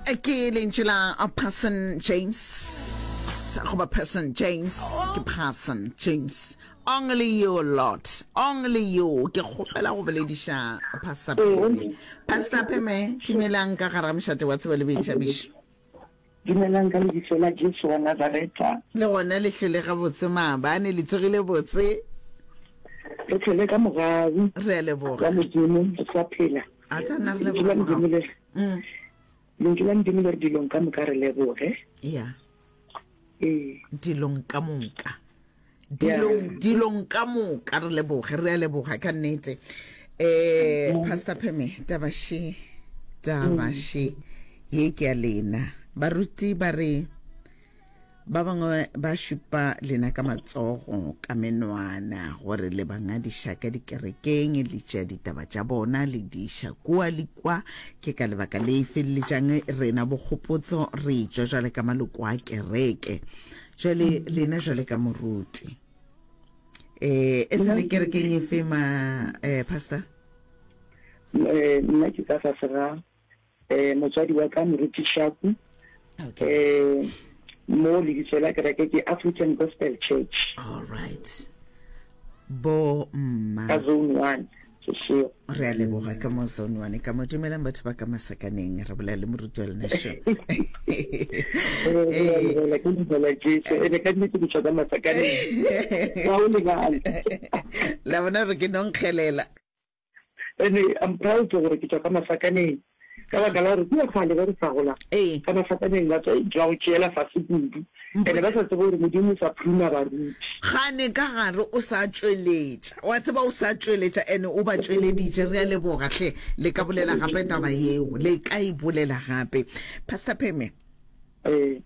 Ke lentšu la Parson James goba Person James ke Parson James Only you Lord only you ke kgopela go bolediša Pastor Pheme Pastor Pheme dumelang ka gara mošate wa tsebo le boithabišo Dumelang ka lebitso la Jesu wa Nazareta. Le gona le hlwele gabotse maabane, le tsogile botse. Re hlwele ka mogau Re a leboga. wa Modimo, re sa phela. A tsena re Lentšu la leboga Modimo mogau. le re, Mm. Lentšu la Modimo le re dilong ka moka re leboge. Ya. Ee. Dilong ka moka. Dilong, dilong ka moka re leboge, re a leboga ka nnete. Eh, Pastor Pheme, taba še, taba še, ye ke ya lena. Baruti ba re, ba bangwe ba šupa lena ka matsogo, ka menwana, gore le ba ngadiša ka dikerekeng, le tšea ditaba tša bona, le di iša kua le kua. Ke ka lebaka le feleletšang rena bokgopotso re tšwa jwale ka maloko a kereke. Jwale lena jwale ka moruti eh e tsene kerekeng efe ma eh pastor? Eh, nna ke ka fase ga eh motswadi wa ka moruti Shaku. Okay. Eh mo lebitso la kereke ke African Gospel Church. All right. Bo mma. Ka zone 1. Sešego. Re a leboga ka mo zone one ka mo dumelang batho ba ka masakaneng re bolela le moruti wa lena šo. Ee, ke dumela Jesu ene ka nnete ke tswa ka masakaneng. Ga o lebale. La bona gore ke nonkgelela. Ene I'm proud gore ke tswa ka masakaneng. Ka baka la gore kua kgale ge re sa gola, Ee. ka masakaneng ba tswa ba go tšeela fase kudu. Ene ba sa tsebe gore Modimo o sa phuruma baruti. Gane ka gare o sa tšweletša. Wa tseba o sa tšweletša ene o ba tšweleditše. Re a leboga hle. Le ka bolela gape taba yeo. Le ka e bolela gape. Pastor Pheme. Ee.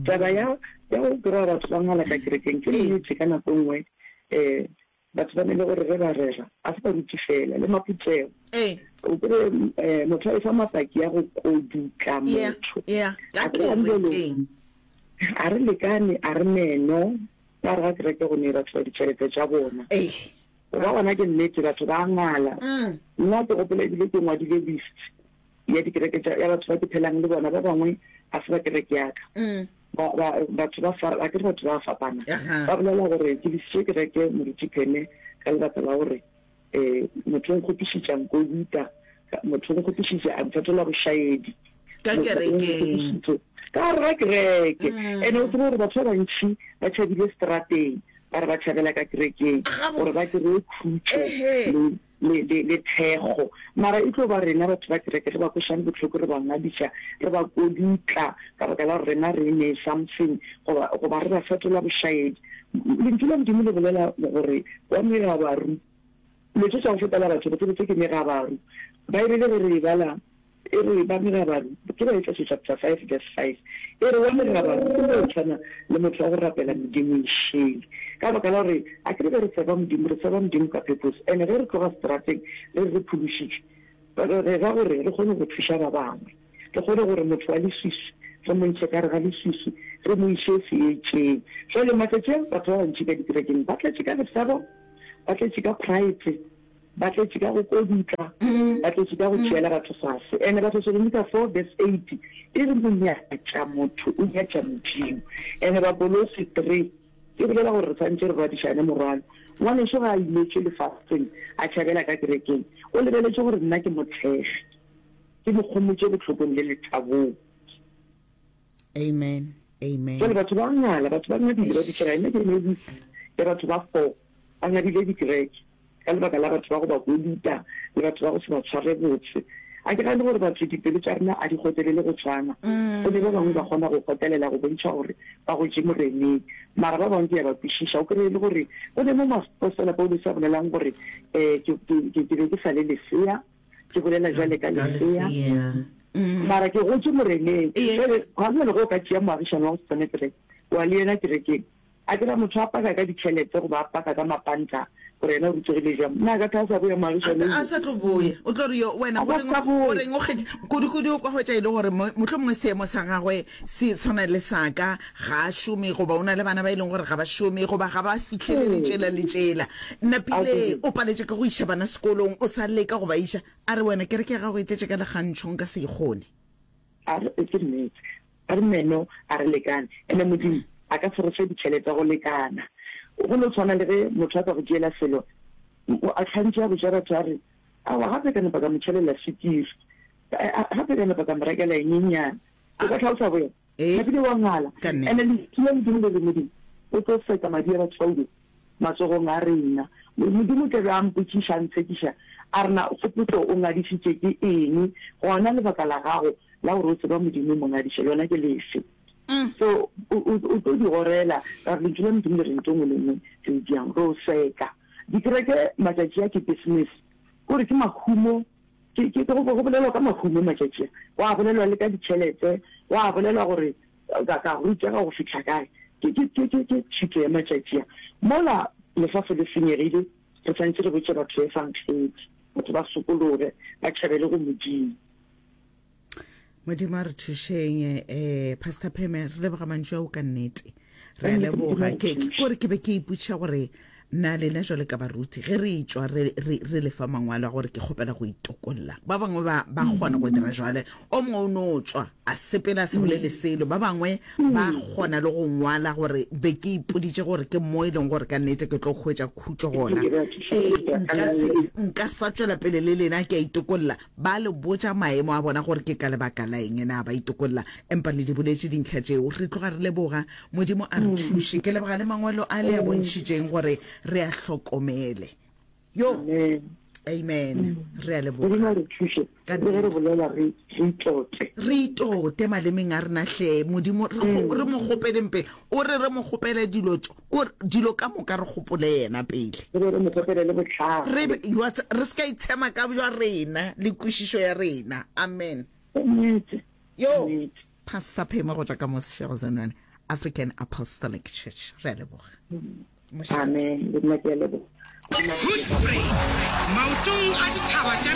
Taba ya ya go kry-a batho ba ngwala ka kerekeng ke nnete ka nako e nngwe um Batho ba ne le gore ge ba rera, a se baruti fela, le maphuthego. Ee. O kry eh, motho a efa mapaki a go kodutla Yeah, motho. yeah, ka A ke gane bjalo, kerekeng. a re lekane, a re meno, ka gare ga kereke go ne batho ba ditšhelete tša bona. Ee. Go ba gona ke nnete, batho ba a ngala. Mm. Nna ke gopola ebile ke ngwadile list ya dikereke tša, ya batho ba ke phelang le bona, ba bangwe ga se ba kereke ya ka. Mm. Ba, ba, batho ba fa, akere batho ba fapana. Aha. Ba bolela gore ke lesitše kereke Moruti Pheme ka lebaka la gore um motho o nkgopišitše a nkoduta, motho o nkgopišitše a mfetola bošaedi. Ka Motho o kerekeng. nkgopišitše ka gare ga kereke. Mm. Ene o tsebe gore batho ba bantši ba tšhabile strateng, ba re ba tšhabela ka kerekeng gore ba Gabotse. kry-e khutšo Ehe. le le, le, le thekgo. Mara e tlo ba rena batho ba kereke re ba kwešang bohloko, re ba ngadiša, re ba kodutla ka baka la gore rena re ne something, goba, goba re ba fetola bošaedi. Lentšu la Modimo le bolela gore wa megabaru, dilo tše tša go fetela batho re tsebe tse ke megabaru. Baebele ge re e bala, E re, Ba megabaru, ke Baefeso chapter 5 verse 5, e re, wa megabaru o no tshwana le motho wa go rapela medimo e šele. Ka baka la gore, a ke re ge re tseba Modimo, re tseba Modimo ka purpose, and ge re tloga seterateng re re re phološitšwe, re re ra gore re kgone go thuša ba bangwe, re kgone gore motho wa leswiswi re mo ntšhe ka gare ga leswiswi, re mo iše seetšeng. Jwale matšatši a batho ba bantši ka dikerekeng ba tletše ka lesebo, ba tletše ka pride. Ba tletše ka go kodutla, ba tletše ka go tšeela batho fase. Ene Bathesalonika 4 verse 8 e re monyatša motho o nyatša Modimo. Ene Bakolose 3 e bolela gore re swanetše re rwadišane morwalo. Ngwanešo ga a imetšwe lefaseng a tšhabela ka kerekeng, o lebeletše gore nna ke mo thekge, ke mo kgomotše bohlokong le lethabong. Amen. Amen. Jwale batho ba ngala, batho ba ngadile, ba dikera. Nna ke ne ya batho ba 4 ba ngadile dikereke. ka lebaka la batho ba go ba koluta le batho ba go se ba tshware botse. A ke gane gore batho dipelo tša rena a di kgotelele go tshwana. Go ne ba bangwe ba kgona go kgotelela go bontšha gore ba gotše Moreneng. Mara ba bangwe ke a ba kwešiša. O kreye e le gore go ne mo moapostola Paulose a bolelang gore, um ke, ke, ke, ke be ke sa le lesea, ke bolela bjale ka lesea, mara ke gotše Moreneng. Jwale, gona bjale ge o ka tšea moagišani wa go se tsene kereke, wa le yena kerekeng, A ke ra motho a paka ka ditšhelete goba a paka ka mapanta gore yena o rutegile bjang? Na a ka tla a sa boya moagišane A yo? sa tlo boya. O tlo re yo wena A ka goreng sa boya. goreng o kgethe kudu-kudu o kwa hwetša e le gore mohlomongwe seemo sa gagwe se tshwana le sa ka, ga a šome goba o na le bana ba e leng gore ga ba šome goba ga ba fihlelele Ee. tšela le tšela. A Napile ke re. o paletše ke go iša bana sekolong, o sa leka go ba iša. A re wena kereke ya gago e tletše ka lekgantšho nka se e kgone. A re, Ke nnete. A re meno a re lekane. Ene Modimo a ka se re fe ditšhelete go lekana. Go no tshwana le ge motho a ka go tšeela selo, a hlantše a botša batho a re, Aowa, gape ka napa ka mo tšhelela swikiri. Gape ka napa ka mo rekela e nyenyane. O ka hlalosa boya? Napile wa ngala. Ene Lentšu la Modimo le re Modimo o tlo seka madi a batho bao matsogong a rena. Modimo o tla be a mpotšiša, a ntshekiša, a re, Na Kgopotso o ngadišitše ke eng? Gona lebaka la gago la gore o tseba Modimo o mo ngadiša lona ke lefe? So o, o, o tlo di gorela, ka gore Lentšu la Modimo le re ntho e nngwe le nngwe re e diang, re o seka. Dikereke matšatši a ke business, kore ke mahumo, ke, ke, go, go bolelwa ka mahumo matšatši a, gwa bolelwa le ka ditšhelete, gwa bolelwa gore Ka, ka rutega go fihla kae? Ke, ke, ke, ke, ke thuto ya matšatši a. Mola lefase le senyegile, re swanetše re botše batho Efangedi, batho ba sokologe, ba tšhabele go Modimo. Modimo a re thušeng. Eh, Pastor Pheme, re leboga mantšu ao ka nnete. Re a leboga. Ke, ke kore ke be ke ipotšiša gore na lena jwale ka baruti ge re etšwa re, re, re lefa mangwalo a gore ke kgopela go itokolla ba bangwe ba, ba kgona go dira jwale o mongwe o no tšwa a sepela a se bolele selo ba bangwe ba kgona le go ngwala gore be ke ipoditše gore ke mo e leng gore ka nnete ke tlo hwetša khutšo gona ee nka se nka sa tšwela pele le lena ke a itokolla ba le botša maemo a bona gore ke ka lebaka la eng na ba itokolla empa le di boletše dintlha tšeo re tloga re leboga modimo a re thuše ke leboga le mangwalo a le a bontšhitšeng gore re a hlokomele yo amen re a leboga Modimo a re thuše Ka le ge re nnete. bolela re re itote re itote malemeng a rena hle modimo re kgo- re mo kgopeleng pele o re re mo kgopele dilo tšo kore dilo ka moka re gopole yena pele re be re mo kgopele le bohlale re be- wa tse- re se ka itshema ka bja rena le kwešišo ya rena amen Ke nnete yo nnete pastor phemo go tšwa ka mo Seshego Zenwane African Apostolic Church re a leboga Mošate. amen le nna ke a leboga Hoedspruit, maotong a dithaba tša.